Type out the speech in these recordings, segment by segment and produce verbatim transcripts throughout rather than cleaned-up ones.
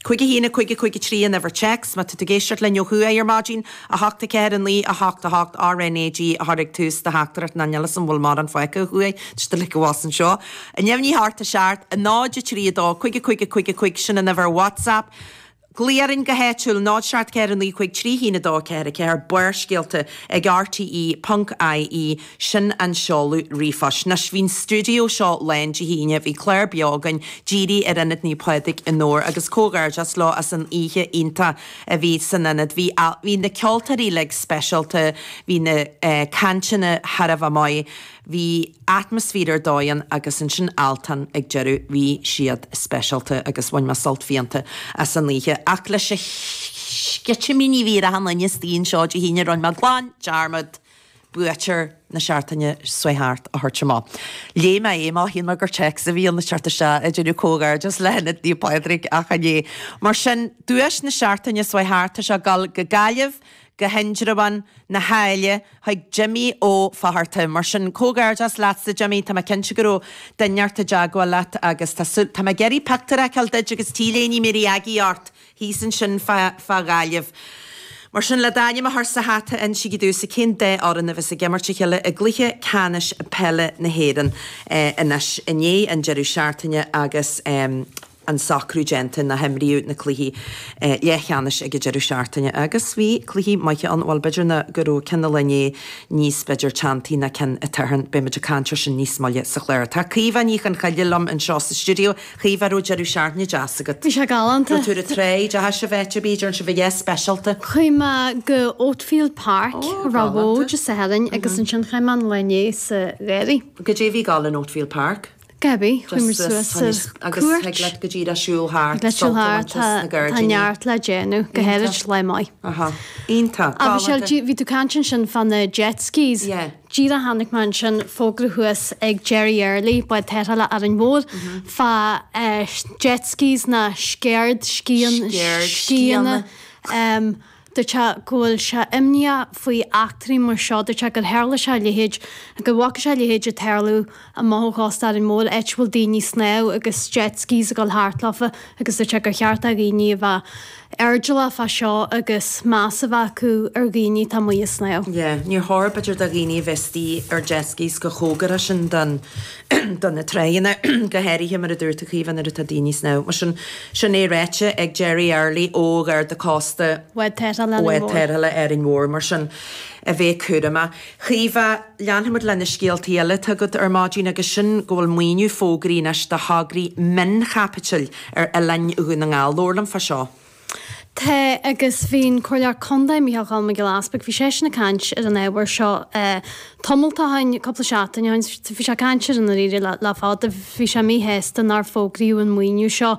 Cúig a haon a cúig a cúig a trí an uimhir téacs, má tá tú ag éisteacht linn ó thuaidh ar maidin, a hocht a ceathair a naoi a hocht a hocht RnaG a chur ag tús do theachtaireacht ná níl 'fhios a'm an bhfuil mórán fágtha ó thuaidh, tá siad uilig abhus anseo. A neamhní thart a seacht, a náid a trí a dó, cúig a cúig a cúig a cúig, sin an uimhir WhatsApp. Glaoigh orainn go háitiúil, náid seacht ceathair a naoi cúig trí haon a dó ceathair a ceathair, Barrscéalta ag rte ponc ie, sin an seoladh ríomhphoist. Anois, bhí an stiúideo seo lán Dé hAoine, bhí clár beo againn dírithe ar Ionad Naomh Pádraig i nDobhar agus comhghairdeas leo as an oíche iontach a bhí san ionad. Bhí, bhí na ceoltóirí uilig speisialta, bhí na cainteanna thar a bheith maith. Bhí atmaisféar ar dóigh ann agus ansin Altan ag deireadh, bhí siad speisialta agus bhain mé sult fiánta as an oíche. Ach leis an sceitimíní a bhí ar achan duine istigh anseo Dé hAoine rinne mé glan dearmad buaiteoir na seachtaine seo thart a thabhairt amach. Léigh mé é amach, shíl mé gur téacs a bhí ann ag teacht isteach ag déanamh comhghairdeas le hIonad Naomh Pádraig ach chan é. Mar sin, duais na seachtaine seo thart, tá sé ag dul go Gaillimh, go hIndreabhán na hAille chuig Jimmy Ó Fatharta. Mar sin, comhghairdeas leatsa Jimmy, tá mé cinnte go raibh duine inteacht i dteagmháil leat agus tá súil, tá mé ag iarraidh pictiúr a fheiceáil duit agus T-léine Mary Aggie ort thíos ansin fá, fá Ghaillimh. Mar sin, le d'ainm a chur sa hata, insígí domhsa cén dá fhoireann a bheas ag imirt a chéile i gcluiche ceannais peile na hÉireann anois i ndiaidh an deireadh seachtaine agus an socrú déanta nach imríodh na cluichí leathcheannais ag an deireadh seachtaine agus bhí cluichí maithe ann, bhuel b'fhéidir ná go raibh ceann an lae inné níos b'fhéidir teanntaí ná ceann an tSathairn, beidh muid ag caint ar sin níos moille sa chlár. Tá Caoimhe Ní Chonchoille liom anseo sa stiúideo. Caoimhe, raibh deireadh seachtaine deas agat? Bhí sé galánta. Raibh tú ar an tráigh, deachaigh sibh áit ar bith, déarfainn sibh a dhath speisialta? Chuaigh mé go Oatfield Park, Ó, Ráth galánta. Bhoth Dé Sathairn agus ansin chuaigh mé an lá inné sa gharraí. Goidé a bhí ag dul in Oatfield Park? Gaby, chuaigh muid suas ar Agus cuairt. thig leat go díreach siúl thart, Thig leat siúl sult a thart, bhaint as na tá gairdíní. neart le déanamh, go Iontach. háirid lá maith. Aha. Iontach. Ach Michelle, Galánta. dí- bhí tú caint ansin fá na jet skis. Yeah. Díreach chonaic mé ansin fógra thuas ag Jerry Early, bád tarrthála Árainn Mhór, fá eh, jet skis ná sceird scian Sceird scianna. scianna. Um, Dúirt sé go bhfuil sé imníoch faoi eachtraí mar seo. Dúirt sé gur tharla sé a leithéid, go bhfaca sé a leithéid ag tarlú amach ó chósta Árainn Mhór, áit a bhfuil daoine ag snámh agus jet skis ag dul thart leofa agus dúirt sé gur cheart do dhaoine a bheith airdeallach fá seo agus meas a bheith acu ar dhaoine atá amuigh ag snámh. Yeah, níor chóir b'fhéidir do dhaoine a bheith istigh ar jet skis chomh cóngarach sin don do na tráigheanna, go háirithe mar a dúirt tú Caoimhe nuair atá daoine ag snámh. Mar sin, sin é ráite ag Jerry Early ó Gharda Cósta Bhád Tarrthála Árainn Bhád Mhór. Tarrthála Árainn Mhór, mar sin, a bheith cúramach. Caoimhe, leanfaimid le na scéaltaí eile atá agat ar maidin agus sin go bhfuil maoiniú fógraithe anois do thograí mionchaipitil ar oileáin Dhún na nGall. Labhair liom fá seo. Tá, agus bhí an Comhairleoir Contae, Micheál Cholm Mac Giolla Easpaig, bhí seisean ag caint ar an ábhar seo tamalt ó shin, cúpla seachtain ó shin, bhí sé ag caint air i ndáiríre le le fada, bhí sé míshásta nár fógraíodh an maoiniú seo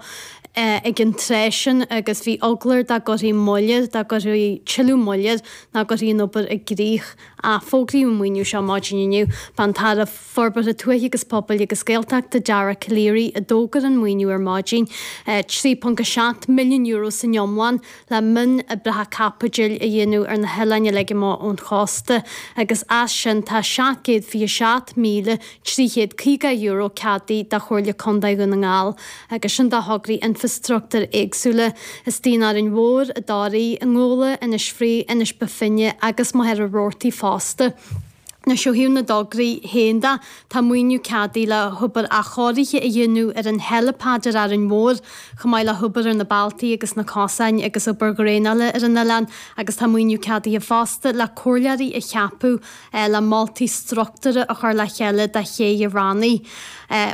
ag an tráth sin agus bhí eagla air dá gcuirfí moill air, dá gcuirfí tuilleadh moill air, nach gcuirfí an obair i gcrích. Ach fógraíodh an maoiniú seo maidin inniu. B'é an tAire Forbartha Tuaithe agus Pobail agus Gaeltachta, Dara Calleary, a d'fhógair an maoiniú ar maidin, trí ponc a seacht milliún euro san iomlán le mionoibreacha caipitil a dhéanamh ar na hoileáin uilig amach ón chósta agus as sin tá seacht gcéad fiche seacht míle trí chéad caoga euro ceadaithe do Chomhairle Contae Dhún na nGall agus sin do thograí infreastruchtúir éagsúla istigh in Árainn Mhór, i dToraigh, i nGabhla, Inis Fraoigh, Inis Bó Finne agus Machaire Rabhartaigh fosta. Anois ó thaobh na dtograí féin de, tá maoiniú ceadaithe le hobair athchóirithe a dhéanamh ar an helipad ar Árainn Mhór, chomh maith le hobair ar na bealtaí agus na cosáin agus obair dhraenála ar an oileán agus tá maoiniú ceadaithe fosta le comhairleoirí a cheapadh le moltaí struchtúrtha a chur le chéile do ché Bhrannaigh.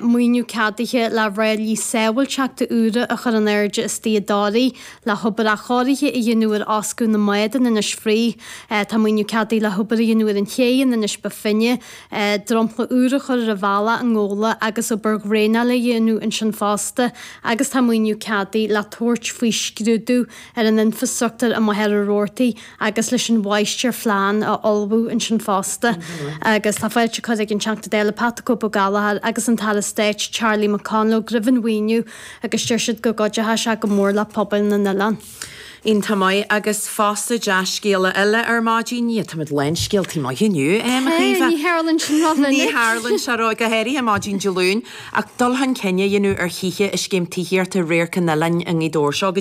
Maoiniú ceadaithe le ráillí sábháilteachta úra a chur in airde istigh i dToraigh, le hobair athchóirithe a dhéanamh ar fhoscadh na mbád in Inis Fraoigh. Tá maoiniú ceadaithe le hobair a dhéanamh ar an ché in Inis Bó Finne, dromchla úr a chur ar an bhealach i nGabhla agus obair dhraenála a dhéanamh ansin fosta agus tá maoiniú ceadaithe le tabhairt faoi scrúdú ar an infreastruchtúr i Machaire Rabhartaigh agus leis an mháistirphlean a ullmhú ansin fosta. Agus tá fáilte curtha ag an Teachta Dála Pat the Cope Ó Gallchóir agus an tAire Stáit Charlie McConalogue roimh an mhaoiniú agus deir siad go gcuideoidh sé go mór le pobail na n-oileán. Iontach maith agus fosta dea-scéala eile ar maidin. Yeah, táimid lán scéaltaí maithe inniu, em, a Chaoimhe. Ní tharlaíonn sin rómhinic. Ní tharlaíonn sé ró, go háirithe maidin Dé Luain, ach dul chun cinn a dhéanamh ar thithe i scéim tithíochta Radharc an Oileáin i nGaoth Dobhair. Seo go dtí